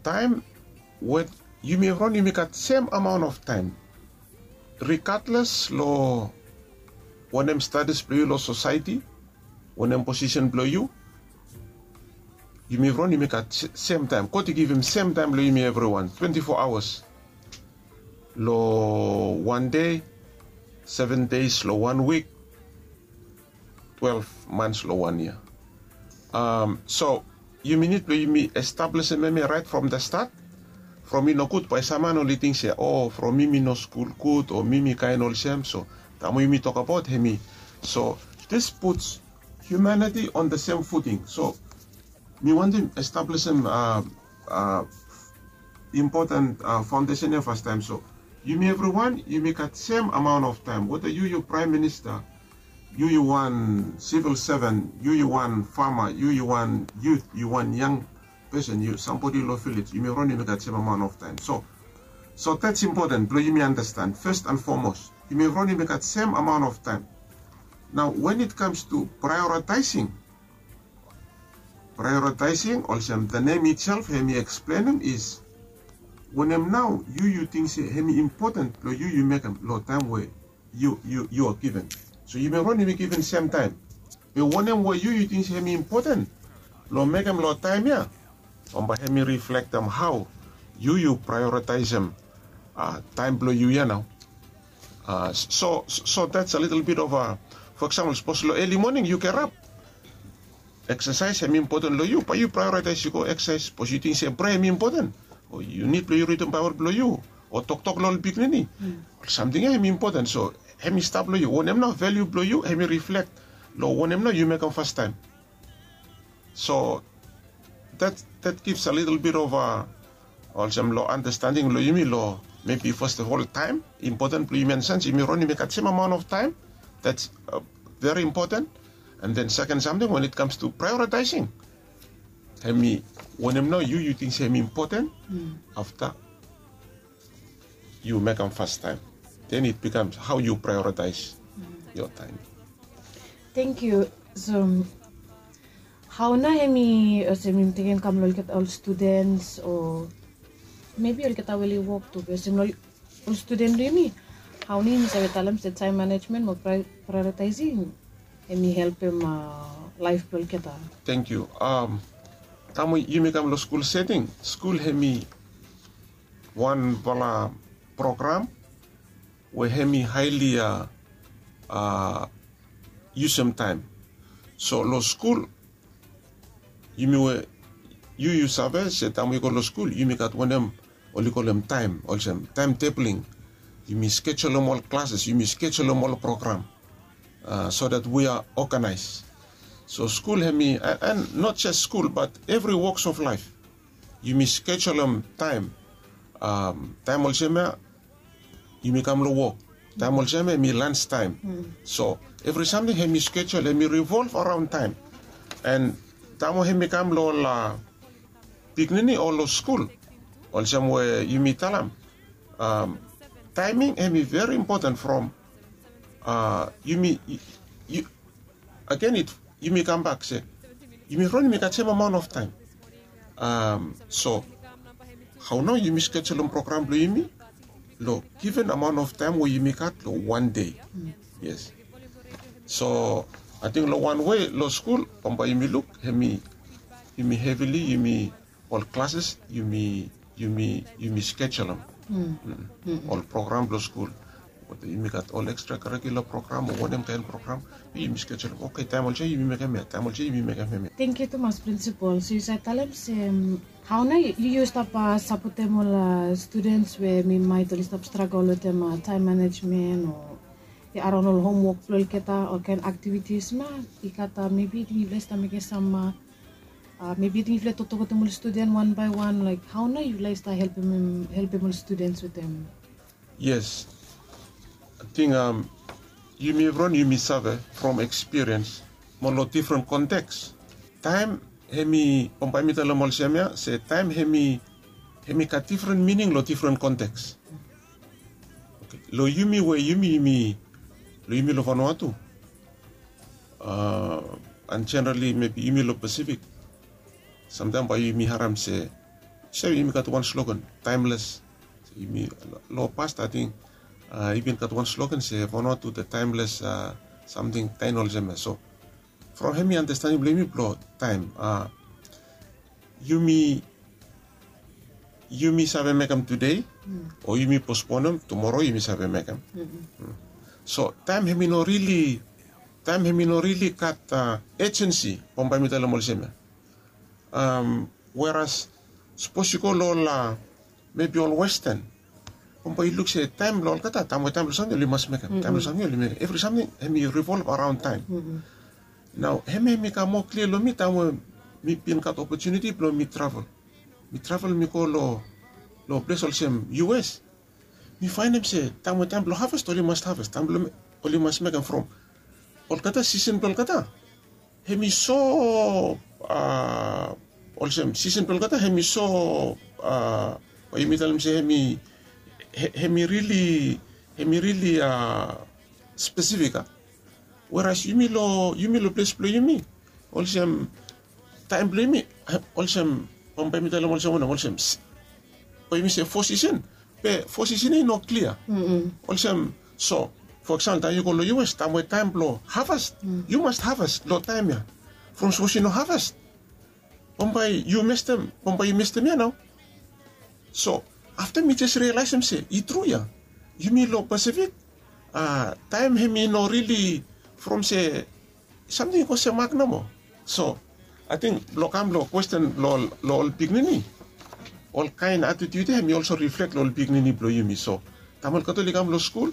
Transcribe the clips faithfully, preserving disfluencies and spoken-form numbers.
Taem we yumi evriwan yumi gat sem amaon of taem, rigadles long wanem status blong yu long sosaeti, wanem posisen blong yu, yumi evriwan yumi gat sem taem. God i givim sem taem long yumi evriwan, twenti fo aoas. Long wan dei, seven deis long wan wik, twelve mans long wan yia. So yumi nid blong yumi establisim em ya raet from the stat. From i nogud bae sam man oli ting se, o, from mi mi no skul gud o mi mi kaen olsem. So taem we yumi tokbaot hem i, so this puts humanity on the same footing. So mi wantem establisim impoten faondesen ya fastaem. So yumi evriwan yumi gat sem amaon of taem, weta yu yu praem minista, yu yu wan sivil seven, yu yu wan fama, yu yu wan yut, yu wan yang pesen, yu sambodi long vilej, yumi evriwan yumi gat sem amaon of taem. So so dats impoten blong yumi andastan fes an fomos, yumi evriwan yumi gat sem amaon of taem. Nao wen it kams tu praeoritaesing, praeoritaesing olsem the name itself hem i eksplenem is, wanem nao yu yu ting se hem i impoten blong yu yu mekem long taem we yu yu yu a given. So yumi evriwan yumi given sem taem. Be wanem we yu yu ting se hem i impoten blong mekem long taem ya, bambae hem i riflektem hao yu yu praeoritaesem taem blong yu ya nao. So so dats a litel bit of a, fo eksampol sapos long eli moning yu gerap, eksasaes hem i impoten long yu, bae yu praeoritaes yu go eksasaes sapos yu ting se prea hem i impoten, o yu nid blong yu ridim baebol blong yu, o toktok long ol pikinini, ol samting ya hem i impoten. So hem i stap long yu, wanem nao valiu blong yu hem i riflek long wanem nao yu mekem fastaem. So that that gives a little bit of a, olsem long andastanding long yumi long mebi fast of ol taem impoten blong yumi, an sens yumi ron yumi gat sem amaon of taem. That's very impoten. And then seken samting wen it kams tu praeoritaesing, hem i wanem nao yu yu ting se hem i impoten afta yu mekem fastaem. Then it bikams hao yu praeoritaes yo taem. Tengkiu. So hao nao hem i olsem yumi tekem kam long olgeta ol studens o mebi olgeta we oli wok tu be olsem long ol studen blong yumi, hao nao yumi save talem se taem manejmen mo praeoritaesing hem i helpem laef blong olgeta? Tengkiu. Taem we yumi kam long skul seting, skul hem i wanfala program we hem i haeli a yusum taem. So long skul yumi we yu yu save se taem we yu go long skul yumi gat wanem oli kolem taem olsem taem tebling. Yumi skejulum ol klases, yumi skejulum ol program so that we are organize. So skul hem i, and not just skul but evri woks of laef, yumi skejulum taem. Taem olsem ya yumi kam long wok, taem olsem ya hem i lans taem. So evri samting hem i skejul hem i rivolv araon taem. And taem we hem i kam long ol pikinini o long skul, olsem we yumi talem, taeming hem i veri impoten from yumi agen it yumi kambak se yumi ron yumi gat sem amaon of taem. So hao nao yumi skejulum program blong yumi long given amaon of taem we yumi gat long wan dei. Yes. So ating long wan wei long skul bambae yumi luk hem i yumi hevili yumi ol klases yumi yumi yumi skejulum ol program blong skul. Yumi gat ol ekstra karikula program o wanem kaen program yumi skejulum. Oke, taem olsem yumi mekem ya, taem olsem yumi mekem hem ya. Tengkiu tumas prinsipol. So yu save talem se hao nao yu yu stap sapotem ol studens we mi maet oli stap stragol wetem taem manejmen o araon ol homwok blong olgeta ol kaen aktivitis ma i gat mebi ting yufala i stap mekem sam mebi ting yufala i toktok wetem ol studen wan bae wan laek hao nao yufala i stap helpem ol studens wetem? Yes. Ating yumi evriwan yumi save from ekspiriens mo long difren konteks. Taem hem i bambae mi talem olsem ya se taem hem i hem i gat difren mining long difren konteks. Long yumi we yumi yumi long yumi long vanua tu an jenerali mebi yumi long pasifik samtaem bae yumi harem se Save yumi gat wan slogan, taemles. Yumi, long past ating i bin gat wan slogan se Vanuatu the timeless, samting kaen olsem ya. So from hemi andastaning blong yumi blong taem, yumi yumi save mekem tude, o yumi posponem tumoro yumi save mekem. So taem hemi no rili taem hemi no rili gat ejensi, bambae mi talem olsem ya. Weras sapos yu go long ol, mebi ol westen, bambae yu luk se taem blong olgeta, taem we taem blong samting oli mas mekem, taem blong samting oli mekem, evri samting hemi revolv araon taem. Nao hemi hemi kam moa klia long mi taem we mi bin gat opotuniti blong mi travel. Mi travel mi go long ples olsem US. Mi faenem se taem we taem blong haves oli mas haves, taem blong oli mas mekem from olgeta sisen blong olgeta. Hemi so olsem sisen blong olgeta hemi so, bae yumi talem se hemi hemi rili hemi rili spesifik a. Weras yumi long yumi long ples blong yumi, olsem taem blong yumi, olsem bambae mi talem olsem wanem, olsem bae yumi se fo sisen, be fo sisen ya i no klia. Olsem, so fo eksampol taem yu go long US, taem we taem blong haves, yu mas haves long taem ya. From sapos yu no haves, bambae yu mestem bambae yu mestem ya nao. So afta mi jes rialaesem se i tru ya, yumi long Pasifik, taem hemi no rili from se samting i go semak nomo. So ating blong kam long kwesten long ol pikinini, ol kaen atitiut ya hemi olso riflek long ol pikinini blong yumi. So taem olgeta oli kam long skul,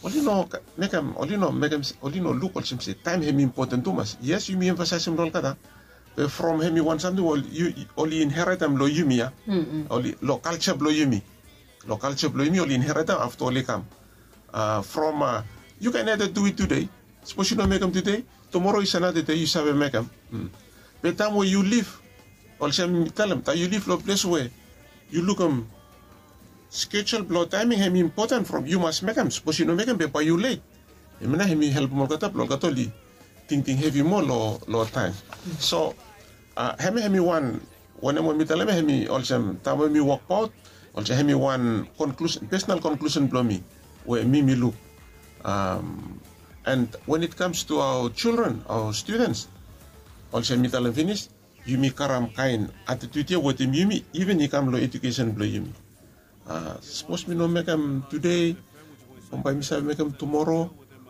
oli no mekem oli no mekem oli no luk olsem se taem hemi impoten tumas. Yes, yumi emfasaesem long olgeta, be from hemi wan samting we oli inheretem long yumi ya, long kalja blong yumi. Long kalja blong yumi oli inheretem afta oli kam from, yu kaen ede duit tude. Sapos yu no mekem tude, tumoro is anada dei yu save mekem. Be taem we yu lif, olsem mi talem taem yu lif long ples we yu lukim skejul blong taeming hemi impoten from yu mas mekem. Sapos yu no mekem be bae yu let. Hemia nao hemi helpem olgeta blong olgeta oli tingting hevi moa long taem. So hemia hemi wan wanem we mi talem ya hemi olsem taem we mi wokbaot, olsem hemi wan konklusen, pesonal konklusen blong mi we mi mi luk. And when it comes to our children, our students, olsem mi talem finis, yumi karam kaen atitiut ya wetem yumi, iven i kam long ejukesen blong yumi. Sapos mi no mekem tude, bambae mi save mekem tumoro,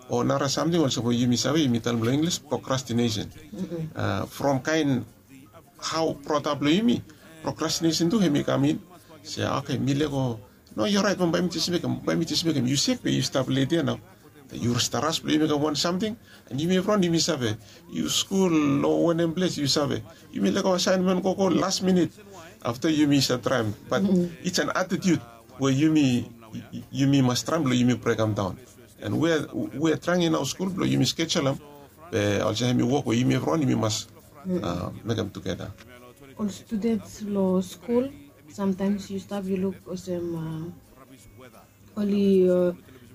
o nara samting olsem we yumi save, yumi talem long Inglis procrastination. From kaen hao brought up long yumi, procrastination tu hemi kam in. Se oke, mi lego, no, yu orait, bambae mi jes mekem, bambae mi jes mekem. Yu sek be yu stap let ya nao. Yu stap ras blong yu mekem wan samting, and yumi evriwan yumi save, yu skul long wanem ples yu save, yumi lego asaenmen gogo las minit. Afta yumi save traem, bat it's an atitiut we yumi yumi mas traem blong yumi brekem daon. And we we traem in aoa skul blong yumi skejulem, be olsem hemi wok we yumi evriwan yumi mas mekem tugeta. Ol studens long skul, samtaems yu stap yu luk olsem oli,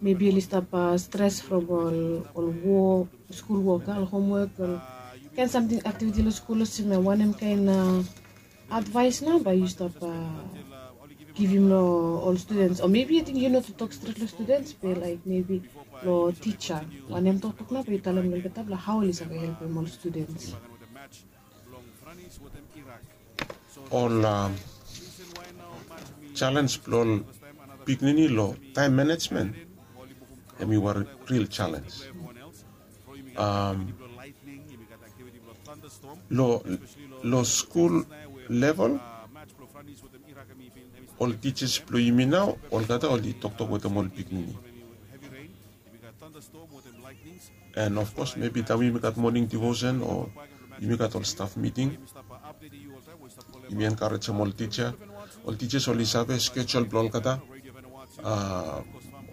mebi oli stap stres from ol ol wok, skul wok, ol homwok, ol kaen samting, aktiviti long skul, olsem wanem kaen advaes nao bae yu stap givim long ol studens? O mebi ating yu no tu tok stret long studens, be laek mebi long tija, wanem toktok nao bae yu talem long olgeta blong hao oli save helpem ol studens? Ol jalens blong ol pikinini long taem manejmen, hemi wan ril jalens. Long skul level, ol tijas blong yumi nao olgeta oli toktok wetem ol pikinini. And of course, mebi taem yumi gat moning devotion o yumi gat ol staf miting, yumi enkarejem ol tija. Ol tijas oli save skejul blong olgeta,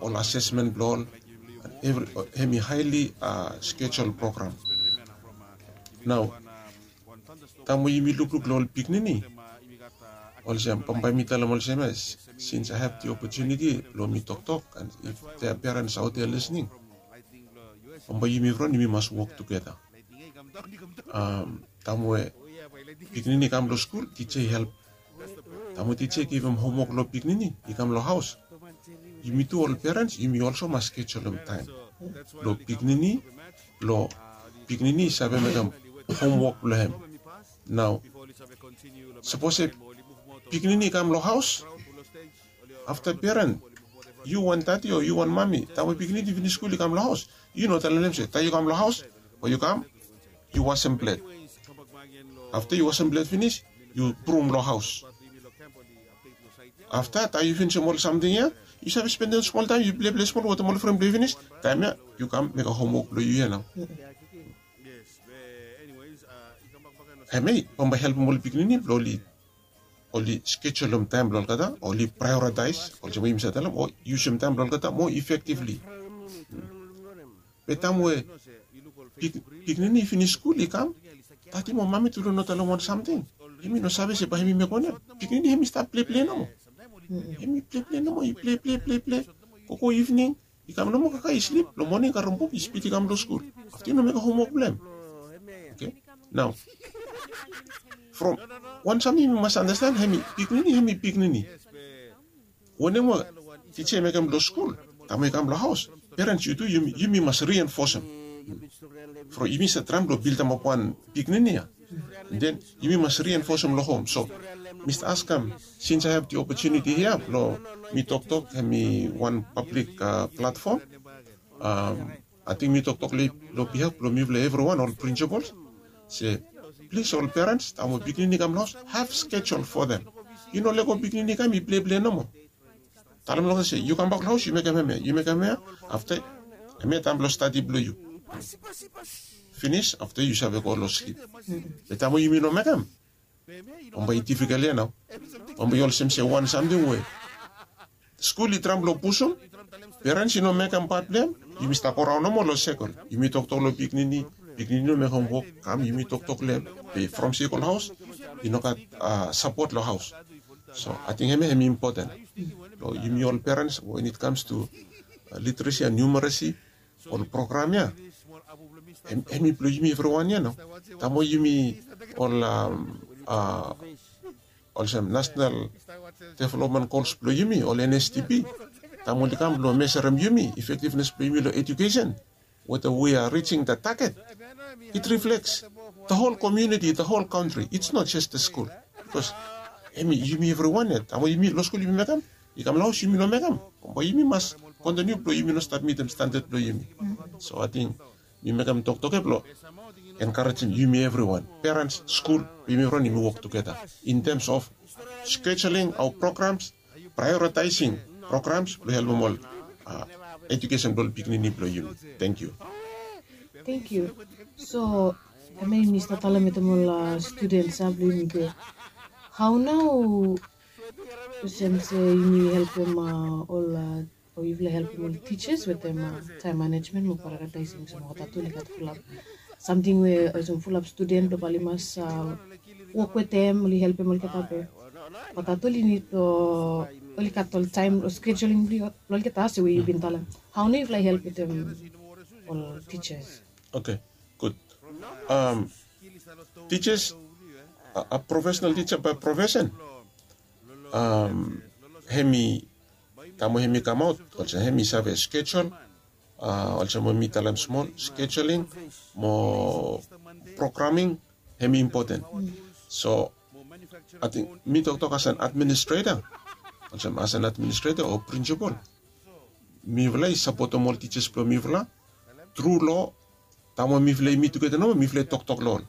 ol asesmen blong ol, hemi haeli skejul program. Nao taem we yumi lukluk long ol pikinini, olsem bambae mi talem olsem ya, since I have the opportunity blong mi toktok, and if their parents out there listening, bambae yumi evriwan yumi mas wok tugeta. Taem we pikinini i kam long skul, tija i help Taem we tija i givim homwok long piknini i kam long haos, yumi tu ol perens yumi olsem mas skejulum taem long piknini, long piknini i save mekem homwok blong hem. Nao sapos se piknini i kam long haos, afta peren, yu wan dadi o yu wan mami, taem we piknini i finis skul i kam long haos, yu no talem long hem se taem yu kam long haos, o yu kam, yu wasem bled. Afta yu wasem bled finis, yu brum long haos. Afta taem yu finisim ol samting ya, yu save spendem smol taem yu pleple smol wetem ol fren blong yu finis, taem ya yu kam mekem homwok blong yu ya nao. Hemia i bambae helpem ol piknini blong oli skejulum taem blong olgeta, oli praeoritaes olsem we yumi save talem, o yusum taem blong olgeta moa efektivli. Be taem we piknini i finis skul i kam, dadi mo mami tu long no talem wan samting. Hem i no save se bae hem i mekem wanem. Piknini hem i stap pleple nomo. Hem i pleple nomo, i pleple pleple, gogo ivning i kam nomo kakae i slip, long moning i karem buk i spid i kam long skul. Afta i no mekem homwok blong hem. Oke. Nao from wan samting yumi mas anastan, hem i piknini, hem i piknini. Wanem we tija i mekem long skul, taem we i kam long haos, perens yu tu yumi mas rienfosem. From yumi save traem blong bildemap wan piknini ya, den yumi mas rienfosem long hom. So mi stap askem, since I have the opportunity hia blong mi toktok, hem i wan pablik platfom, ating mi toktok long bihaf blong mifala evriwan ol prinsipals, se plis ol perens, taem we piknini i kam long haos, have schedule for them. Yu no lego piknini i kam i pleple nomo. Talem long hem se yu kambak long haos yu mekem hemia, yu mekem hemia. Afta hemia taem blong stadi blong yu. Finis afta yu save go long slip. Be taem we yumi no mekem, bambae i difikol ya nao. Bambae i olsem se wan samting we skul i traem blong pusum, perens i no mekem pat blong hem, yumi stap go raon nomo long sekol. Yumi toktok long piknini, piknini i no mekem homwok, kam yumi toktok long hem, be from sekol haos i no gat sapot long haos. So ating hemia hem i impoten long yumi ol perens, when it comes to literacy and numeracy, ol program ya hem i blong yumi evriwan ya nao. Taem we yumi ol olsem nasenal developmen gols blong yumi, ol N S D P, taem oli kam blong meserem yumi, efektivnes blong yumi long ejukesen, whether we are reaching the target, it reflects the whole community, the whole country. It's not just the school. Bikos hem i yumi evriwan ya, taem we yumi long skul yumi mekem, i kam long haos yumi no mekem, bambae yumi mas kontiniu blong yumi no stap mitim standad blong yumi. So ating mi mekem toktok ya blong enkarejem yumi evriwan, perens, skul, yumi evriwan yumi wok tugeta in terms of scheduling our programs, prioritizing programs blong helpem ol ejukesen blong ol piknini blong yumi. Tangkiu. Tangkiu. So hemia yumi stap talem wetem ol studens blong yumi be, hao nao olsem se yumi helpem ol o yufala helpem ol tijas wetem taem manejmen mo prioritizing olsem olgeta tu oli gat fulap samting we olsem fulap studen blong bae oli mas wok wetem, oli helpem olgeta be olgeta tu oli nid blong oli gat ol taem blong scheduling blong olgeta olsem we yu bin talem. Hao nao yufala i help wetem ol tijas? Oke, gud. Tijas, a profesenal tija bae profesen, hem i taem we hem i kamaot olsem hem i save skejul, olsem we mi talem smol, scheduling mo programming, hem i impoten. So ating mi toktok as an administrator, olsem as an administrator o prinsipal, mifala i sapotem ol tijas blong mifala tru long taem we mifala i mit tugeta nomo mifala i toktok long ol.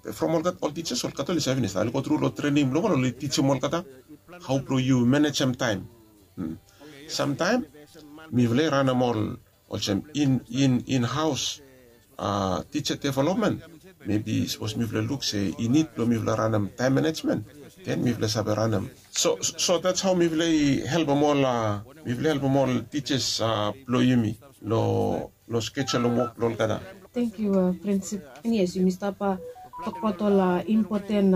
Be from olgeta ol tijas olgeta oli save finis, oli go tru long trening blong ol, oli tijim olgeta hao blong yu manejem taem. Samtaem mifala i ranem ol olsem in in in haos tija developmen. Mebi sapos mifala luk se i nid blong mifala ranem taem manejmen, den mifala save ranem. So so that's hao mifala i helpem ol mifala i helpem ol tijas blong yumi long long skejul long wok blong olgeta. Tangkiu, Prinsip. Yes, yumi stap tokbaot ol impoten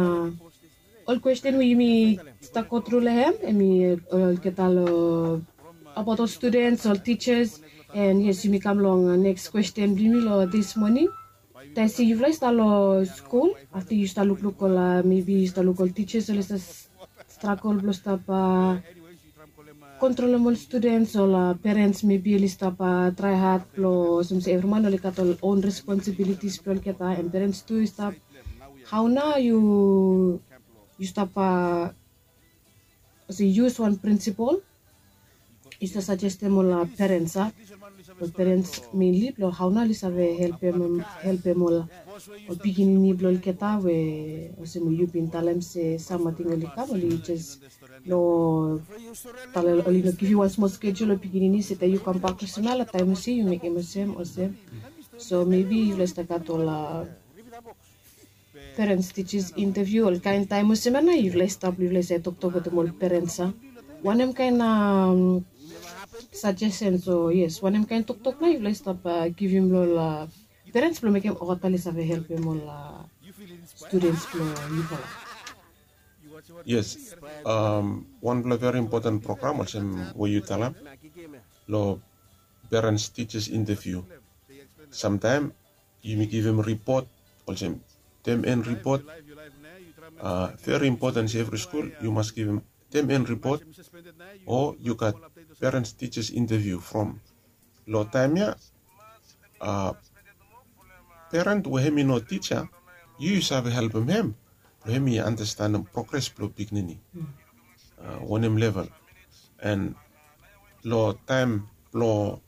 ol kwesten we yumi stap go tru long hem, hem i olgeta long abaot ol studens, ol tijas. And yes, yumi kam long neks kwesten blong yumi long dis moning. Tesi, yufala i stap long skul, afta yu stap lukluk ol, mebi yu stap luk ol tijas oli stap stragol blong stap kontrolem ol studens, ol perens mebi oli stap trae had blong olsem se evri man oli gat ol on responsibilitis blong olgeta, and perens tu i stap. Hao nao yu yu stap olsem yus wan prinsipol yu stap sajestem ol perens a ol perens menli blong hao nao oli save helpem helpem ol ol pikinini blong olgeta we olsem we yu bin talem se sam ating oli kam oli jes no talem oli no givim wan smol skejul long pikinini se taem yu kambak olsem ya long taem olsem yu mekem olsem olsem. So mebi yufala i stap gat ol perens tijas inteviu olkaen taem olsem ya nao yufala i stap yufala i save toktok wetem ol perens a wanem kaen sajesens o yes wanem kaen toktok nao yufala i stap givim long ol perens blong mekem olgeta oli save helpem ol studens blong yufala. Yes. Wanpela veri impoten program olsem we yu talem long perens tijas inteviu. Samtaem yumi givim ripot olsem tem en ripot. Veri impoten se evri skul yu mas givim tem en ripot o yu gat perens tijas inteviu from long taem ya peren we hem i no tija yu yu save helpem hem blong hem i anastenem progres blong pikinini wanem level. En long taem blong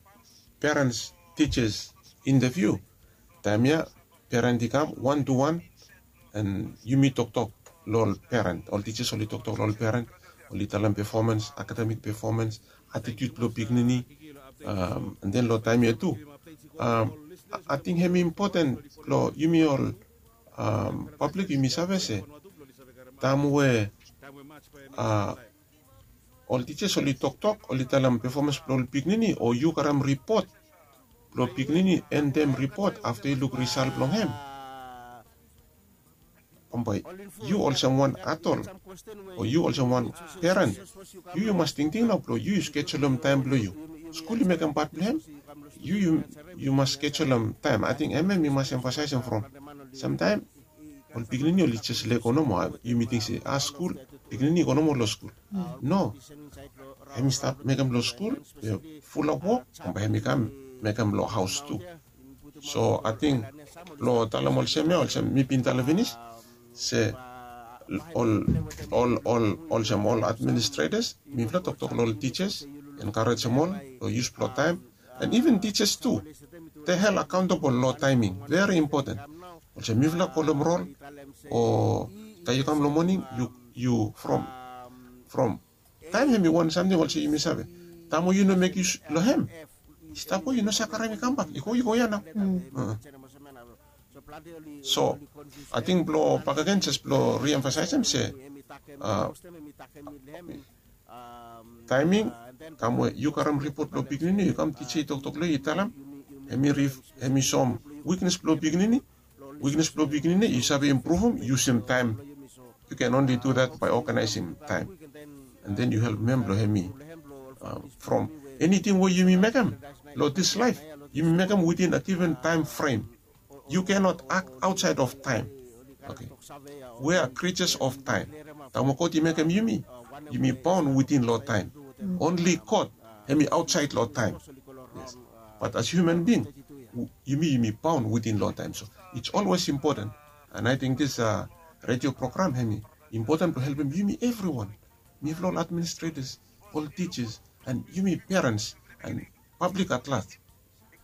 perens tijas inteviu taem ya peren i kam wan tu wan en yumi toktok long ol peren ol tijas oli toktok long ol peren oli talem pefomens akademik pefomens atitiut blong pikinini. An den long taem ya tu ating hem i impoten long yumi ol pablik yumi save se taem we ol tijas oli toktok oli talem pefomens blong ol pikinini o yu karim ripot blong pikinini endem ripot afta yu luk risal blong hem. Bambae yu olsem wan adol o yu olsem wan peren yu yu mas tingting nao blong yu yu skejulem taem blong yu. Skul i mekem pat blong hem yu yu mas skejulem taem ating em em i mas emfasaesem from samtaem ol pikinini oli jes lego nomo. Yumi ting se a skul pikinini i go nomo long skul. No, hem i stap mekem long skul fulap wok bambae hem i kam mekem long haus tu. So ating blong talem olsem ya olsem mi bin talem pinis se ol ol ol olsem ol administretas mipela toktok long ol tijas enkarejem ol long yus blong taem. An iven tijas tu de hel akauntabol long taeming veri impoten. Olsem mipela kolem rol o taem yu kam long moning yu from from taem hem i wan samting olsem yumi save taem we yu no mek yus long hem i stap we yu no save karaem i kambak i go i go ya nao. So ating blong bakegen jes blong riemfasaesem se taeming taem we yu karim ripot blong pikinini yu kam tija i toktok long yu i talem hem i soem wiknes blong pikinini wiknes blong pikinini yu save impruvim yusim taem. Yu ken onli du dat bae oganaesim taem an den yu helpim hem blong hem i from eniting we yumi mekem long dis laef yumi mekem witin a given taem frem. Yu kenot ak aotsaed of taem. Oke we a krijas of taem taem we god i mekem yumi yumi baon witin long taem. Onli god hem i aotsaed long taem. Bat as hiuman bing yumi yumi baon witin long taem so its olwes impoten. An ating dis redio program hem i impoten blong helpim yumi evriwan mifala ol administretas ol tijas an yumi perens an pablik at las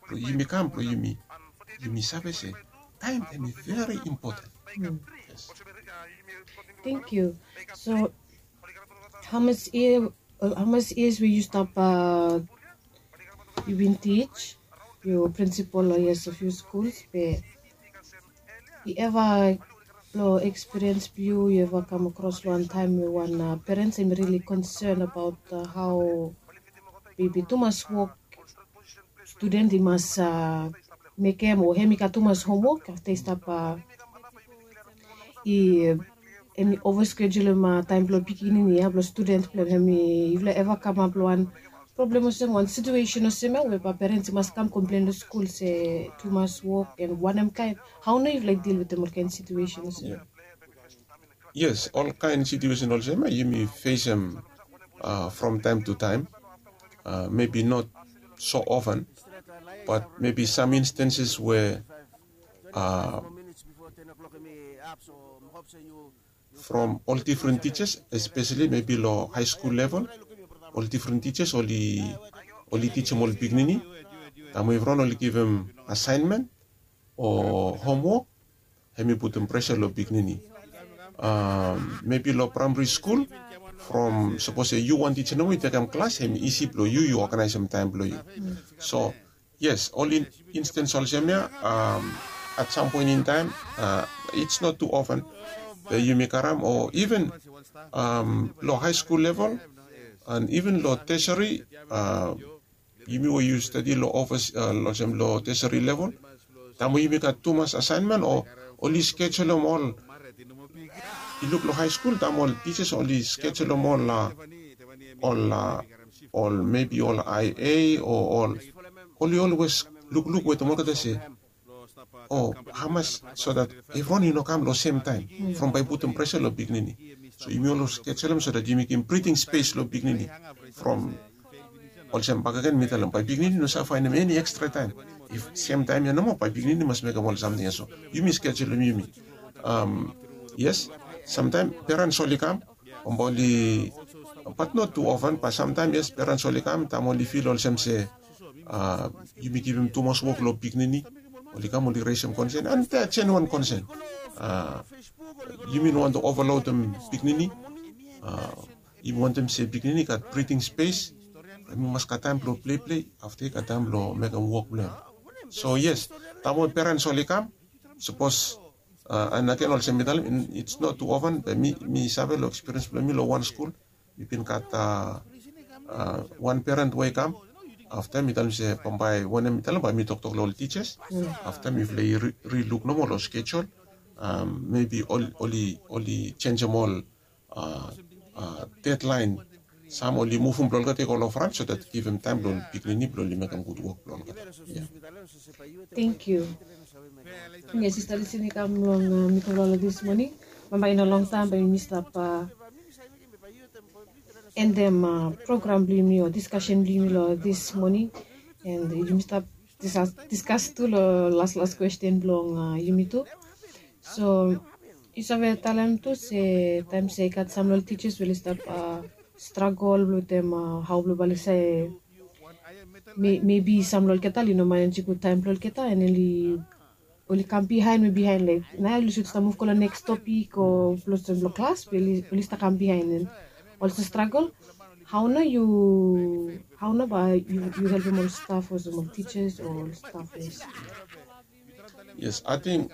blong yumi kam blong yumi yumi save se taem hem i veri impoten. Thank you. So hamas yia hamas yias we yu stap yu bin tij yu prinsipal long yias of yu skuls be i eva long ekspiriens blong yu yu eva kam akros long wan taem we wan perens em rili konsen abaot hao bebi tumas wok studen i mas mekem o hem i gat tumas homwok afta i stap i em i ova skejulim taem blong pikinini ya blong studen blong hem i yufala eva kamap long wan problem olsem wan situesen olsem ya we bae perens i mas kam komplen long skul se tumas wok en wanem kaen hao nao yufala i dil wetem ol kaen situesen olsem ya. Yes, olkaen situesen olsem ya yumi fesem from taem tu taem, mebi not so ofan, bat mebi sam instanses we from ol difren tijas, espeseli mebi long haeskul level, ol difren tijas oli tijem ol pikinini. Taem we evriwan oli givim asaenmen o homwok, hem i putum presa long pikinini. Mebi long praemari skul, from sapos se yu wan tija nomo i tekem klas, hem i isi blong yu yu oganaesem taem blong yu. So yes, ol instens olsem ya, at sam poen in taem, its not tu ofan, be yumi karam o iven long haeskul level, an iven long tesari, yumi we yu stadi long ofis, olsem long tesari level, taem we yumi gat tumas asaenmen o oli skejulum ol, i luk long haeskul taem ol tijas oli skejulum ol, ol mebi ol ia o ol, oli olwes lukluk wetem olgeta se, o hamas, so dat evriwan i no kam long semtaem, from bae i putum presa long pikinini. So yumi olwes skejulum so dat yumi givim briting spes long pikinini, from olsem bakegen mi talem, bae pikinini i no save faenem eni ekstra taem. If semtaem ya nomo bae pikinini i mas mekem ol samting ya. So yumi skejulum yumi. Yes, samtaem perens oli kam, bambae oli, bat not tu ofan, bat samtaem yes, perens oli kam taem oli fil olsem se yumi givim tumas wok long pikinini. Oli kam oli resem konsen, an dea jenuan konsen. Yumi no wantem ovalodim pikinini. Yumi wantem se pikinini i gat briting spes, hem i mas gat taem blong pleplei, afta i gat taem blong mekem wok blong hem. So yes, taem we perens oli kam, sapos, an agen olsem mi talem, its not tu ofan, be mi save long ekspiriens blong mi long wan skul, mi bin gat wan peren we i kam. Afta mi talem se bambae wanem mi talem, bae mi toktok long ol tijas. Afta mifala i riluk nomo long skejul, mebi oli jenjem ol dedlaen. Sam oli muvum blong olgeta i go long fran so dat givim taem blong ol pikinini blong oli mekem gud wok blong olgeta. Tengkiu. Yes, sista Lisin i kam long mitol ol dis moning. Bambae i no longtaem bae yumi stap endem program blong yumi o diskasen blong yumi long dis moning. And yumi stap diskas tu long las las kwesten blong yumi tu. So yu save talem tu se taem se i gat sam long ol tijas we oli stap stragol blong wetem hao blong balisa e, mebi sam long olgeta oli no manejem gud taem blong olgeta, and oli kam bihaen we bihaen, laek naoia oli sud stap muv go long neks topik o blong olsem long klas be oli stap kam bihaen. And olsem stragol, hao nao yu, hao nao bae yu helpem ol staf olsem ol tijas o ol staf? Yes, ating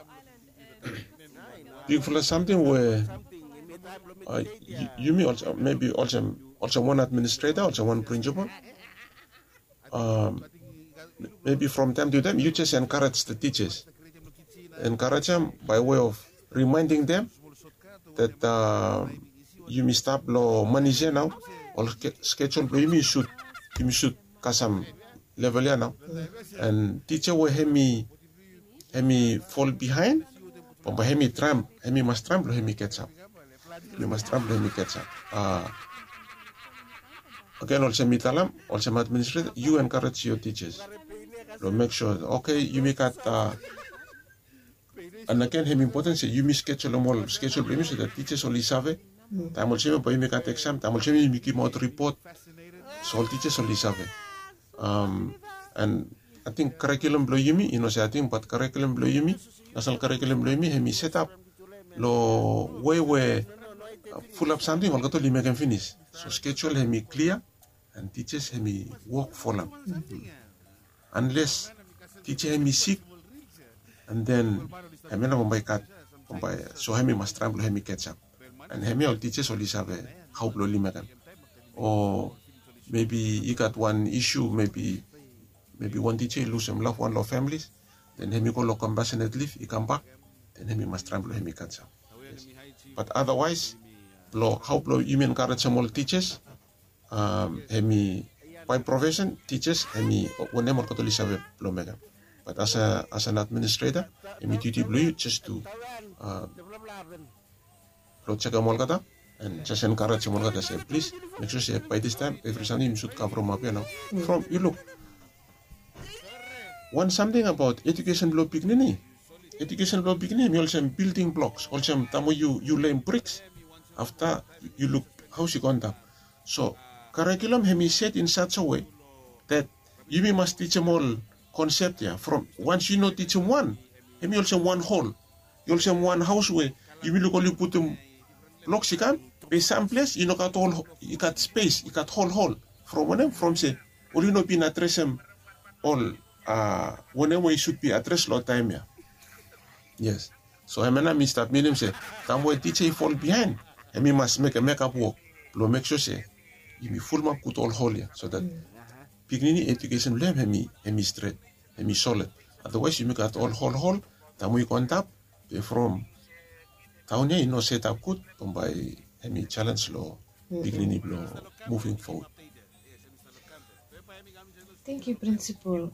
bigfala samting we yumi olsem, mebi olsem wan administreta, olsem wan prinsipal, mebi from taem tu taem yu jes enkarej the tijas. Enkarejem by way of rimaending dem that yumi stap long manis ya nao, ol skejul blong yumi sud, yumi sud kasem level ya nao. And tija we hem i fol bihaen, bambae hem i traem, hem i mas traem blong hem i ketsap. Hem i mas traem blong hem i ketsap. Agen olsem mi talem, olsem administreta yu enkarej yo tijas blong mek sua, oke, yumi gat, and agen hem i impoten se yumi skejulum ol skejul blong yumi so dat tijas oli save. Taem olsem ya bae yumi gat eksam, taem olsem ya yumi givimaot ripot. So ol tijas oli save. And ating karikulum blong yumi, i no se ating, bat karikulum blong yumi, nasonal karikulum blong yumi hem i setap long wei we fulap samting olgeta oli mekem finis. So skejul hem i klia, and tijas hem i wok folem. Anles tija hem i sik, and then hemia nao bambae i gat, bambae so hem i mas traem blong hem i ketsap. And hemia ol tijas oli save hao blong oli mekem. O mebi i gat wan isu, mebi wan tija i lusum lafwan long famili, then hem i go long kompasenet lif, i kambak, then hem i mas traem blong hem i ketsap. Bat adawaes, blong hao blong yumi enkarejem ol tijas, hem i, bae profesen tijas hem i wanem olgeta oli save blong mekem. Bat as an administreta, hem i diuti blong yu jes tu, blong jekem olgeta. And jes enkarejem olgeta se plis, mek sua se bae distaem evri samting yumi sud kavremap ya nao. From yu luk, wan samting abaot ejukesen blong pikinini. Ejukesen blong pikinini hem i olsem bilding bloks, olsem taem we yu leim briks, afta yu luk haos i go antap. So karikulum hem i set in such a way that yumi mas tijem ol konsep ya. From wans yu no tijem wan, hem i olsem wan hol. I olsem wan haos we yumi luk oli putum bloks i kam, be sam ples i no gat ol, i gat spes, i gat hol hol. From wanem? From se oli no bin adresem ol, a, wanem we i sud bi adres long taem ya. Yes. So hemia nao mi stap minim se taem we tija i fol biaen, hem i mas mekem mekap wok blong mek sua se yumi fulumap gud ol hol ya, so that pikinini ejukesen blong hem hem i stret, hem i solid. Otherwise yumi gat ol hol hol, taem we i go antap, be from taon ya i no setap gud, bambae hem i jalenj long pikinini blong moving forward. Thank you, Principal.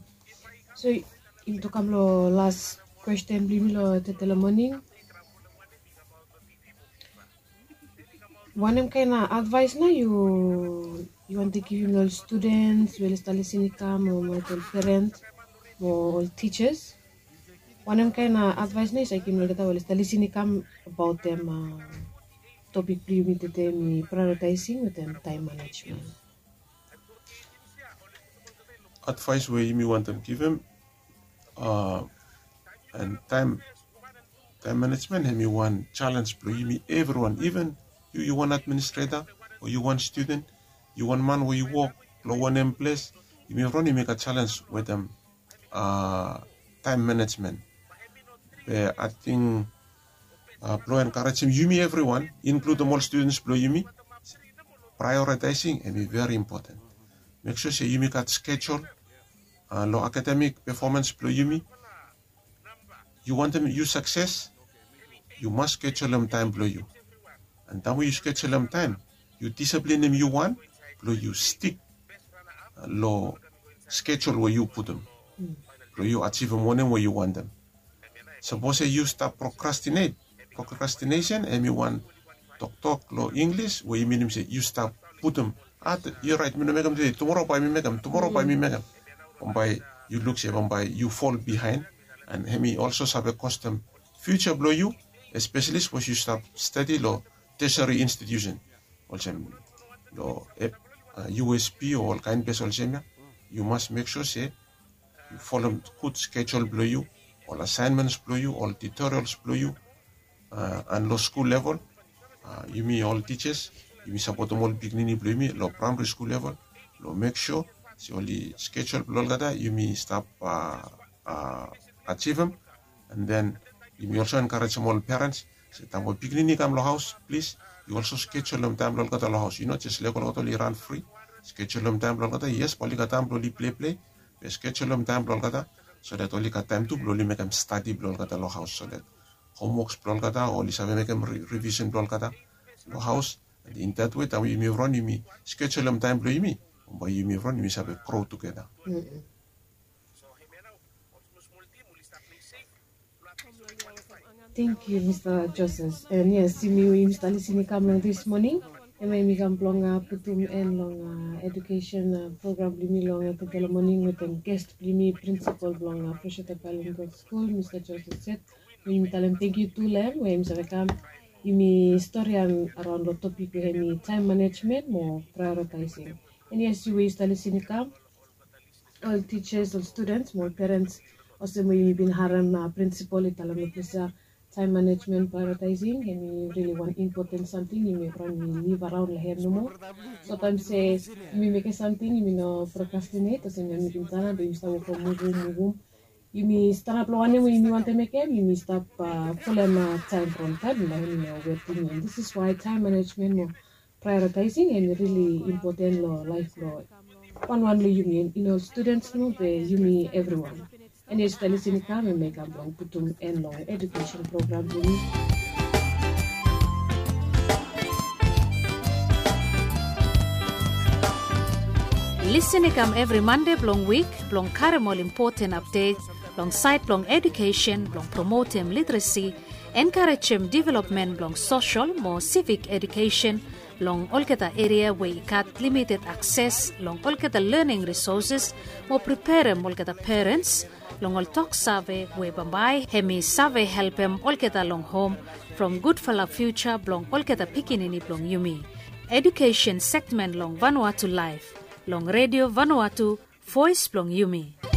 So, yumi tu kam long las kwesten blong yumi long tete long moning. Wanem kaen advaes nao yu, yu wantem givim long ol studens we oli stap lisin i kam, o mo ol perens, o ol tijas? Wanem kaen advaes nao yu save givim long olgeta we oli stap lisin i kam abaot topik blong yumi tede, mi praeoritaesing wetem taem manejmen? Advaes we yumi wantem givim, a, and taem, taem manejmen hem i wan jalenj blong yumi evriwan. Iven yu, yu wan administreta, o yu wan studen, yu wan man we yu wok long wanem ples, yumi evriwan yumi gat jalenj wetem, a, taem manejmen. Be ating, a, blong enkarejem yumi evriwan, inkludem ol studens blong yumi, praeoritaesing hem i veri impoten. Mek sua se yumi gat skejul, a, long akademik pefomans blong yumi. Yu wantem yu sakses, yu mas skejulem taem blong yu. And taem we yu skejulem taem, yu disiplinim yu wan blong yu stik long skejul we yu putum blong yu ajivim wanem we yu wantem. Sapos se yu stap prokrastinet, prokrastinesen hem i wan toktok long Inglis we i minim se yu stap putum, a, yu oraet, mi no mekem tede, tumora bae mi mekem, tumora bae mi mekem. Bambae yu luk se bambae yu fol biaen, and hem i olso save kostem fiuja blong yu, espeseli sapos yu stap stadi long teseri institiusen olsem long, e, a, U S P o ol kaen ples olsem ya. Yu mas mek sua se yu folem gud skejul blong yu, ol asaenmens blong yu, ol tutorials blong yu, a, and long skul level, a, yumi ol tijas yumi sapotem ol pikinini blong yumi long praemari skul level long mek sua se oli skejul blong olgeta yumi stap, a, a, ajivim. And then yumi olso enkarejem ol perens se taem we pikinini i kam long haos, plis, yu olso skejulem taem blong olgeta long haos. Yu no jes lego olgeta oli ran fri. Skejulem taem blong olgeta, yes, bae oli gat taem blong oli pleiplei, be skejulem taem blong olgeta so that oli gat taem tu blong oli mekem stadi blong olgeta long haos, so that homwoks blong olgeta o oli save mekem ri-, rivisen blong olgeta long haos. And in that way taem we yumi evriwan yumi skejulem taem blong yumi, bae yumi evriwan yumi save gro tugeta. Tangkiu, Mista Joses. And yes, yumi, yumi stap lisin i kam long dis moning, hemia yumi kam blong, a, putum en long, a, ejukesen, a, program blong yumi long, a, tede long moning wetem ges blong yumi, prinsipol blong, a, Freshwater Bilingual School, Mista Joses Set. Yumi talem tangkiu tu long hem we yumi save kam, yumi storian araon long topik we hem i taem manejmen mo praeoritaesing. And yes, yu we yu stap lisin i kam, ol tijas, ol studens mo ol perens, olsem we yumi bin harem, a, prinsipol i talem long ples ya, taem manejmen, praeoritaesing hem i rili wan impoten samting yumi evriwan yumi liv araon long hem nomo. Somtaem se yumi mekem samting yumi no prokrastinet, olsem yumi bin talem be yumi stap wokem muvum muvum. Yumi stanap long wanem we yumi wantem mekem, yumi stap, a, folem, a, taem from taem, na hem i no wetem yumi. And this is why taem manejmen mo praeoritaesing hem i rili impoten long laef blong wanwan long yumi, i no studens nomo be yumi evriwan. And yes, taem lisin i kam, hemia i kam blong putum en long ejukesen program blong yumi. Lisin i kam evri Mande blong wik blong karem ol impoten apdet long saed blong ejukesen, blong promotem literesi, Enkarejem developmen blong sosol mo sivik edukesen long olgeta eria we i gat limited akses long olgeta lening risoses mo preperem olgeta perens long ol tok save we bambae hem i save helpem olgeta long hom from gudfala fiuja blong olgeta pikinini blong yumi. Edukesen segmen long Vanuatu Laef long Redio Vanuatu, voes blong yumi.